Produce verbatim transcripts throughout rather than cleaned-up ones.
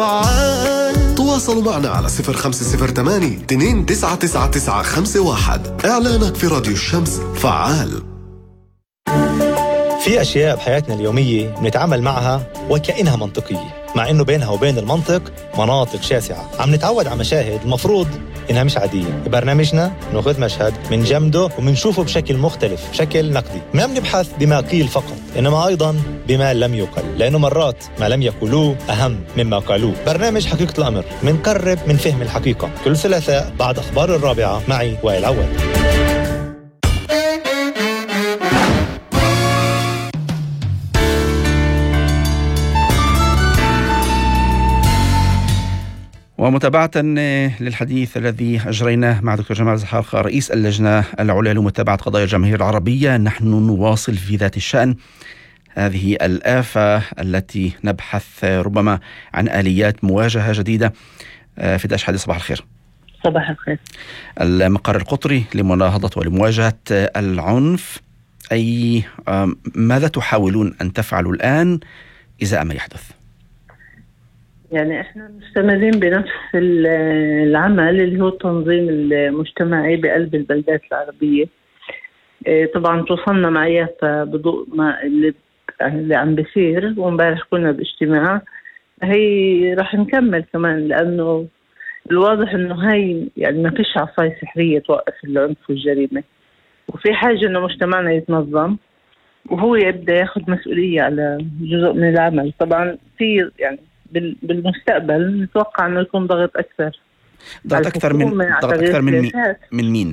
فعال. تواصلوا معنا على صفر خمسة صفر ثمانية اثنين تسعة تسعة تسعة خمسة واحد. إعلانك في راديو الشمس فعال. في أشياء بحياتنا اليومية بنتعامل معها وكأنها منطقية، مع إنه بينها وبين المنطق مناطق شاسعة. عم نتعود على مشاهد المفروض إنها مش عادية. ببرنامجنا نأخذ مشهد من جمده ومنشوفه بشكل مختلف، بشكل نقدي. ما بنبحث بما قيل فقط، إنما أيضاً بما لم يقل، لأنه مرات ما لم يقولوه أهم مما قالوه. برنامج حقيقة الأمر منقرب من فهم الحقيقة، كل ثلاثاء بعد أخبار الرابعة معي وائل عواد. ومتابعة للحديث الذي أجريناه مع دكتور جمال زحاق رئيس اللجنة العليا لمتابعة قضايا الجماهير العربية، نحن نواصل في ذات الشأن هذه الآفة التي نبحث ربما عن آليات مواجهة جديدة. في داش حديث، صباح الخير. صباح الخير. المقر القطري لمناهضة ولمواجهة العنف، أي ماذا تحاولون أن تفعلوا الآن إذا ما يحدث؟ يعني احنا مستمرين بنفس العمل اللي هو التنظيم المجتمعي بقلب البلدات العربية. طبعا توصلنا مع يافا بضوء ما اللي, اللي عم بيصير، ومبارح كنا باجتماع. هي راح نكمل كمان، لأنه الواضح إنه هاي يعني ما فيش عصاية سحرية توقف العنف والجريمة، وفي حاجة إنه مجتمعنا يتنظم وهو يبدأ ياخد مسؤولية على جزء من العمل. طبعا في يعني بالمستقبل نتوقع انه يكون ضغط اكثر. ضغط اكثر من ضغط اكثر من مين؟ من مين؟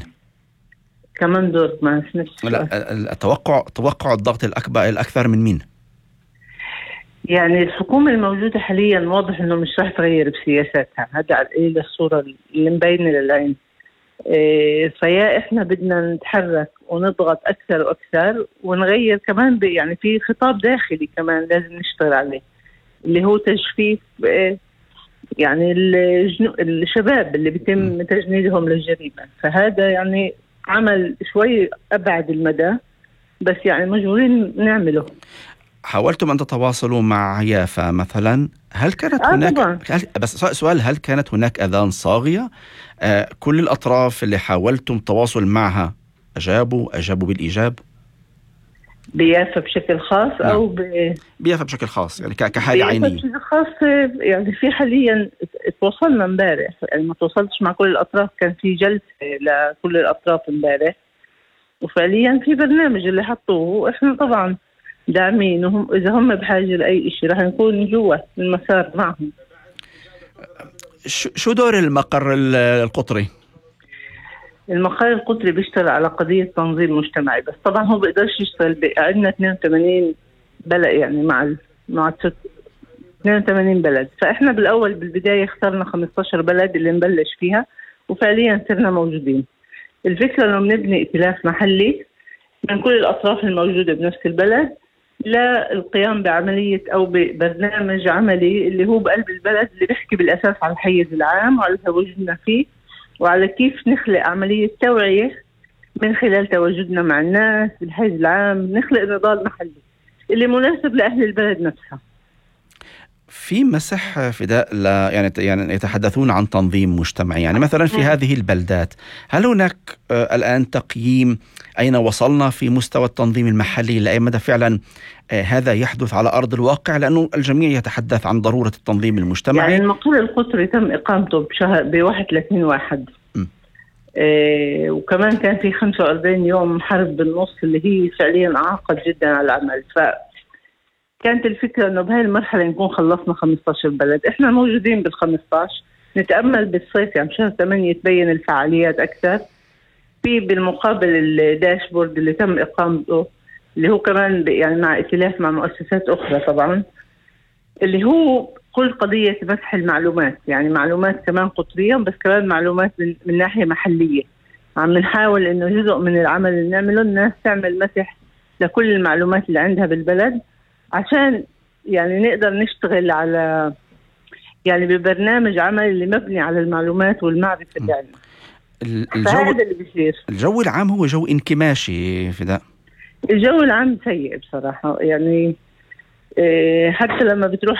كمان دور ما سمعتش. لا، التوقع توقع الضغط الاكبر الاكثر من مين؟ يعني الحكومه الموجوده حاليا واضح انه مش راح تغير بسياساتها، هذا على القليل الصوره اللي مبينه للعين. إيه فيا احنا بدنا نتحرك ونضغط اكثر واكثر ونغير كمان، يعني في خطاب داخلي كمان لازم نشتغل عليه، اللي هو تجفيف يعني الشباب اللي بيتم تجنيدهم للجريمة. فهذا يعني عمل شوي أبعد المدى، بس يعني مجبورين نعمله. حاولتم أن تتواصلوا مع يافا مثلا؟ هل كانت آه هناك طبعا. هل... بس سؤال، هل كانت هناك أذان صاغية؟ آه كل الأطراف اللي حاولتم التواصل معها أجابوا أجابوا بالإيجاب؟ بيافا بشكل خاص. نعم. أو ب... بيافا بشكل خاص، يعني كحالة عينية بشكل خاص. يعني في حاليا تواصلنا امبارح، يعني ما تواصلتش مع كل الأطراف، كان في جلسة لكل الأطراف امبارح، وفعليا في برنامج اللي حطوه. احنا طبعا داعمين، وهم إذا هم بحاجة لأي شيء راح نكون جوا المسار معهم. شو دور المقر القطري؟ المقر القطري بيشتغل على قضية تنظيم مجتمعي، بس طبعا هو بيقدرش يشتغل. عندنا اثنين وثمانين بلد، يعني مع ال... مع اثنين وثمانين بلد. فاحنا بالاول بالبداية اخترنا خمسة عشر بلد اللي نبلش فيها، وفعليا صرنا موجودين. الفكرة انه بنبني ائتلاف محلي من كل الاطراف الموجودة بنفس البلد للقيام بعملية او ببرنامج عملي اللي هو بقلب البلد، اللي بيحكي بالاساس على الحيز العام وعلى تواجدنا فيه، وعلى كيف نخلق عملية توعية من خلال تواجدنا مع الناس بالحيز العام، نخلق نضال محلي اللي مناسب لأهل البلد نفسها. في مسح فداء لا يعني يعني يتحدثون عن تنظيم مجتمعي، يعني مثلا في هذه البلدات هل هناك آه الآن تقييم أين وصلنا في مستوى التنظيم المحلي؟ لأي مدى فعلا آه هذا يحدث على أرض الواقع؟ لأنه الجميع يتحدث عن ضرورة التنظيم المجتمعي. يعني المقر القطري تم إقامته بشهر بواحد وثلاثين واحد، آه وكمان كان في خمسة وأربعين يوم حرب بالنص اللي هي فعليا عاقد جدا على العمل. ف كانت الفكرة أنه بهاي المرحلة نكون خلصنا خمسة عشر بلد. إحنا موجودين بالخمسة عشر، نتأمل بالصيف يعني شهر ثمانية تبين الفعاليات أكثر. في بالمقابل الداشبورد اللي تم إقامته، اللي هو كمان يعني مع ائتلاف مع مؤسسات أخرى طبعا، اللي هو كل قضية مسح المعلومات، يعني معلومات كمان قطرية بس كمان معلومات من, من ناحية محلية. عم نحاول إنه جزء من العمل اللي نعمله الناس تعمل مسح لكل المعلومات اللي عندها بالبلد، عشان يعني نقدر نشتغل على يعني ببرنامج عمل اللي مبني على المعلومات والمعرفة اللي عندنا. الجو اللي بيصير الجو العام هو جو انكماشي فداء. الجو العام سيء بصراحة، يعني حتى لما بتروح